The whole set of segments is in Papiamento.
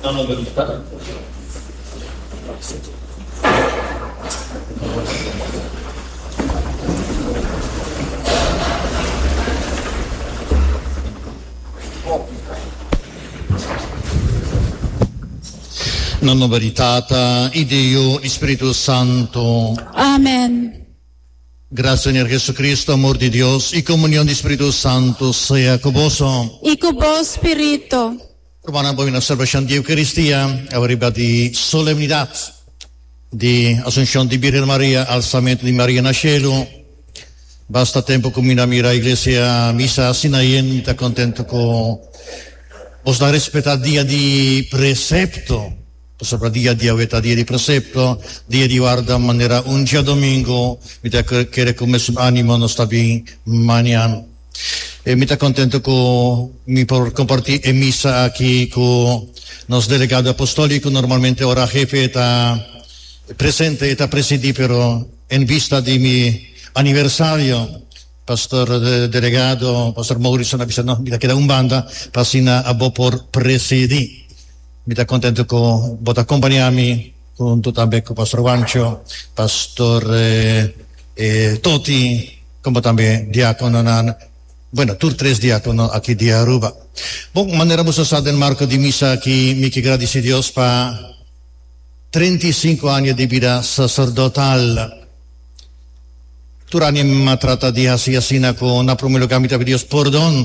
Na nomber di Tata. Na nomber di Tata y di Yu y Spiritu Santo. Amen. Gracia Señor Jesucristo, amor di Dios y comunión di Spiritu Santo sea cu boso. Y cu bo spirito. Rumannan bo na celebracion di Eucaristia awe riba di solemnidad di Asuncion di Birgen Maria, Alzamento di Maria na cielo. Basta tempo cu mi na mira iglesia misa asina yen, mi ta contento cu bos ta respeta dia di precepto, pasobra dia di awe ta dia di precepto, dia di warda manera un djadomingo, mi ta kere cu mesun animo nos ta bin mañan. E mi ta contento cu mi por comparti e misa aki cu nos delegado apostolico, normalmente ora hefe ta presente e ta presidi pero en vista di mi aniversario pastor delegado pastor Maurison a bisa no mi ta keda un banda pa asina abo por presidi. Mi ta contento cu bo ta acompaña mi hunto tambe cu pastor Juancho, pastor Toti. Como tambe diacononan, bueno, tur tres diacono aki di Aruba. Bon, manera boso sa den marco di misa aki, mi ke gradici Dios pa 35 aña di bida sacerdotal. Tur aña mi a trata di haci asina cu na prome lugar mi ta pidi Dios pordon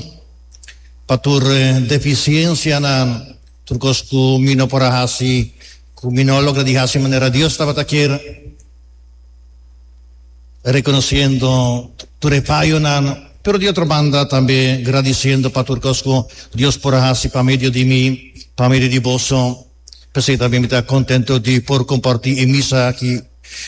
pa tur deficiencianan, tur cos cu mi no por a haci, cu mi no a logra di haci manera Dios tabata kier. Reconociendo tur e fayonan, pero di otro banda tambe gradiciendo pa tur cos cu Dios por a haci pa medio di mi, pa medio di boso. P'esey tambe mi ta contento di por comparti e misa aki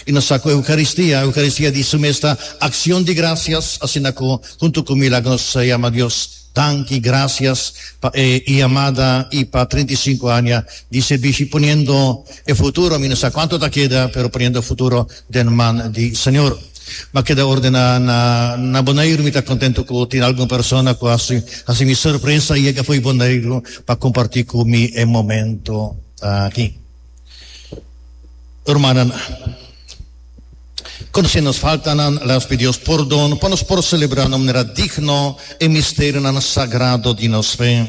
y nos sa cu Eucaristia, Eucaristia di su mes ta accion di gracias, asina cu hunto cu mi laga nos yama Dios danki, gracias pa e yamada y pa 35 aña di servishi poniendo e futuro, mi no sa cuanto ta keda, pero poniendo e futuro den man di Señor. M'a keda ordená na na Boneiru, mi ta contento cu tin algun persona cu haci haci mi sorpresa y yega fo'i Boneiru pa comparti cu mi e momento aki. Rumannan, conoce nos faltanan, laat pidi Dios pordon pa nos por celebra na manera digno e misterionan sagrado di nos fe.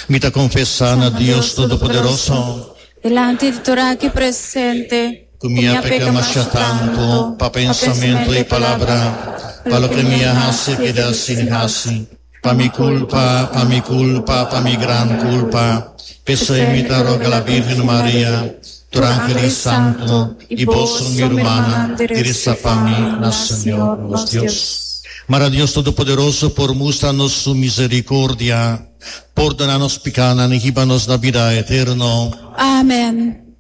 Mi ta konfesá na Dios Todopoderoso. Dilanti di tur aki presente. Ku mi a peka masha tantu pa pensamentu i palabra, pa loke mi a hasi keda sin hasi, pa mi kulpa, pa mi kulpa, pa mi gran kulpa. P'esei mi ta roga la Bírgen Maria, tur ángel i santu, i boso, mi rumannan, di resa pa mi na Señor nos Dios. Mara Dios Todopoderoso por mustra nos su misericordia, pordona nos picanan y hiba nos na bida eterno. Amen.